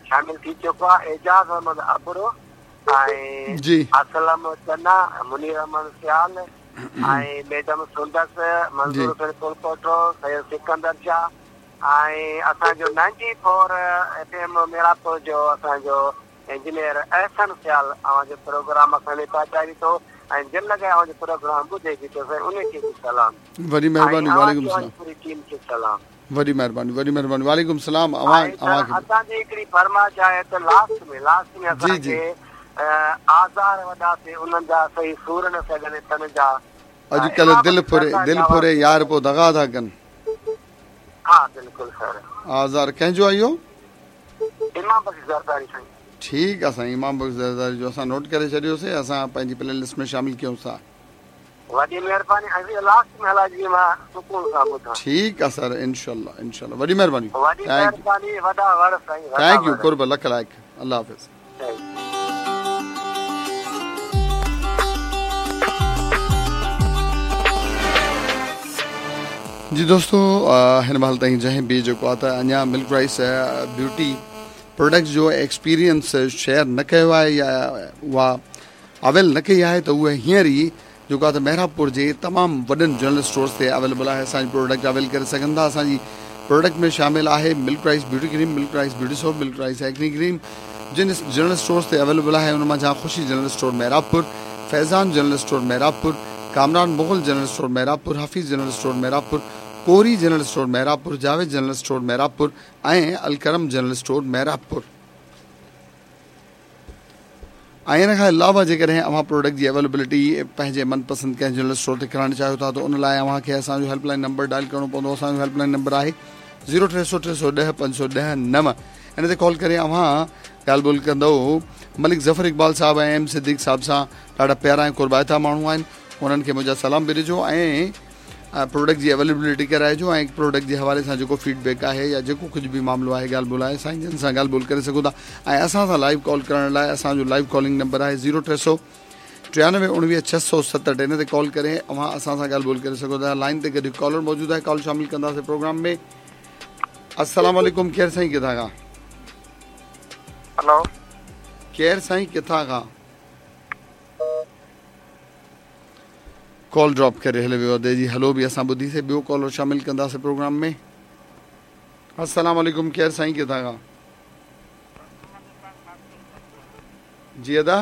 شامل ٿي چڪو آهي اعجاز احمد ابڙو ۽ جي اسلم چنا، منير احمد سيال ۽ ميڊم سندس، جي منظور حسين ڦلپوٽو، سيد سڪندر شاهه ۽ اسان جو ninety four F M Mehrabpur جو اسان جو انجنيئر احسن سيال اوهان جو پروگرام اسان ڏي پهچائي ٿو ۽ دل لڳائي اوهان جو پروگرام ٻڌي به ٿو سائين انهي کي به سلام وڏي ۽ مهرباني اوهان وعليڪم کي اوهان السلام جي پوري ٽيم کي سلام. وڏي مهرباني وڏي مهرباني وعليڪم السلام اوهان ۽ سر اوهان کي به. اسان جي هڪڙي فرمائش آهي ته لاسٽ ۾ لاسٽ ۾ جي اسان جي کي آزار وڏا سي انهن جا سهي سور نه سگهن تن جا اڄڪلهه امام دل بخش ڦري زرداري دل آواز ڦري ۾ يار پو دغا ٿا ڪن. ها بلڪل سر. آزار ڪنهن جو آهي اهو؟ امام بخش زرداري سائين. ٺيڪ آ سائين امام بخش زرداري جو اسان نوٽ ڪري ڇڏيوسي اسان پنهنجي پلي لسٽ ۾ شامل ڪيونس ٿا. وڏي مهرباني ۽ لاسٽ ۾ هلائجو جيئن مان سڪون سان ٻڌان. ٺيڪ آ سر انشاءالله انشاءالله وڏي مهرباني وڏي thank you مهرباني وڏا وڙ سائين وڏا thank you وڙ. قرب لک لائق الله حافظ. Thank you. جي دوستو هن مهل تائين جنهن به جيڪو آ ته اڃا ملڪ رائس بيوٽي پروڊڪٽس جو ايڪسپيرينس شيئر نه ڪيو آهي يا اها اويل نه ڪئي آهي ته اهي هينئر ئي جيڪو آهي ته محرابپور جي تمام وڏن جنرل اسٽورز تي اويليبل آهي اسان جي پروڊڪٽ اويل ڪري سگهن ٿا اسان جي پروڊڪٽ ۾ شامل آهي milk rice beauty cream milk rice beauty soap milk rice acne cream جن جنرل اسٽورز تي اويليبل آهي ان منجهان Khushi general store Mehrabpur Faizan general store Mehrabpur Kamran Mughal general store Mehrabpur Hafeez general store Mehrabpur Kori general store Mehrabpur Javed general store Mehrabpur ۽ Alkaram general store Mehrabpur ۽ ان کان علاوه جيڪڏهن اوهان product جي availability پنهنجي من پسند ڪنهن general store تي ڪرائڻ چاهيو ٿا ته ان لاء اوهان کي اسان جو هيلپ لائن نمبر ڊائل ڪرڻو پوندو اسان جو هيلپ لائن نمبر آهي زيرو ٽي سو ٽي سو ڏهه پنج سو ڏهه نو ان تي ڪال ڪري اوهان ڳالهه ٻولهه ڪندو ملڪ ظفر اقبال صاحب ۽ ايم صديق صاحب سان ڏاڍا پيارا ۽ قربائتا ماڻهو آهن انهن کي منهنجا سلام به ڏجو ۽ پروڊڪٽ جي اويليبلٽي ڪرائجو ۽ پروڊڪٽ جي حوالي سان جيڪو فيڊ بيڪ آهي يا جيڪو ڪجهه به معاملو آهي ڳالهه ٻولهه آهي سائين جن سان ڳالهه ٻولهه ڪري سگهو ٿا ۽ اسان سان لائيو ڪال ڪرڻ لاء اسان جو لائيو ڪالنگ نمبر آهي زيرو ٽي سو ٽيانوي اڻويهه ڇهه سو ستهٺ ان تي ڪال ڪري اوهان اسان سان ڳالهه ٻولهه ڪري سگهو ٿا لائين تي گڏ ڪالر موجود آهي ڪال شامل ڪنداسين پروگرام ۾ السلام عليڪم ڪير سائين ڪٿان کان هلو ڪير سائين ڪٿان کان ڪال ڊراپ ڪري هليو ويو ادي جي هلو به اسان ٻڌي سي ٻيو ڪالر شامل ڪنداسي پروگرام ۾ السلام عليڪم ڪير سائين ڪٿان کان جي ادا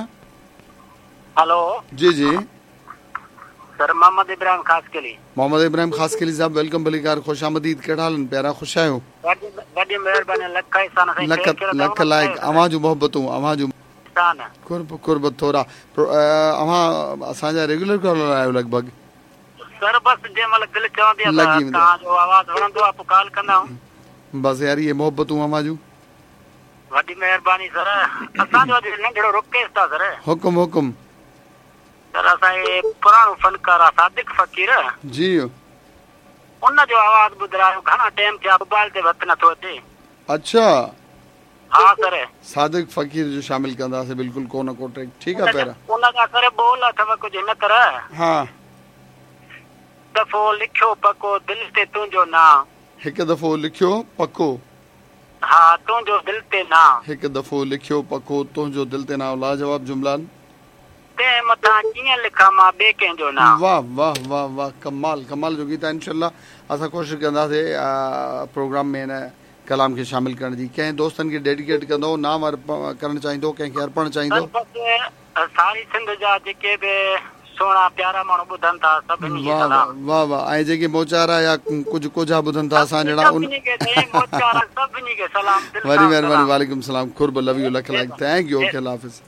هلو جي جي سر محمد ابراهيم خاصخيلي محمد ابراهيم خاصخيلي صاحب welcome ڀليڪار خوش آمديد ڪهڙا حال آهن پيارا خوش آهيو وڏي مهرباني لک احسان سائين لک لک لائق اوهان جون محبتون اوهان جون احسان. قرب قرب ٿورا اوهان اسان جا ريگيولر ڪالر آهيو لڳ ڀڳ. سر بس جنهن مهل دل چوندي آ ته توهان جو آواز وڻندو آ پوء ڪال ڪندا آهيون. بس يار اهي محبتون اوهان جون. وڏي مهرباني سر اسان جو اڄ ننڍڙو رڪويسٽ آ سر. حڪم حڪم. سر اسان جي پراڻو فنڪار آ صادق فقير. جي. ان جو آواز ٻڌرايو گهڻا ٽيم ٿيا موبائل تي به هٿ نٿو اچي. اڇا. ها سر. صادق فقير جو شامل ڪنداسين بلڪل ڪو نه ڪو ٽريڪ ٺيڪ آ پيارا. ان جا سر ٻول اٿو ڪجهه هن طرح. ها. دفعو لکيو پڪو دل تي تنهنجو نانء. هڪ دفعو لکيو پڪو. ها تنهنجو دل تي نانء. هڪ دفعو لکيو پڪو تنهنجو دل تي نانء لاجواب جملا. تنهن مٿان ڪيئن لکان مان ٻئي ڪنهن جو نانء. واه واه واه واه ڪمال ڪمال جو گيت آ انشاء الله اسان ڪوشش ڪنداسين پروگرام ۾ هن ڪلام کي شامل ڪرڻ جي ڪنهن دوستن کي ڊيڊيڪيٽ ڪندو نام ڪرڻ چاهيندو ڪنهن کي ارپڻ چاهيندو. سر بس ساري سنڌ جا جيڪي به سهڻا پيارا ماڻهو ٻڌن ٿا سڀني کي واه سلام. واه واه ۽ جيڪي موچارا يا ڪجهه ڪوجها ٻڌن ٿا اسان جهڙا ان سڀني کي سائين موچارا سڀني کي سلام دل وڏي سان مهرباني سلام. وعليڪم سلام قرب لو you lakh لائق thank you okay Allah Hafiz.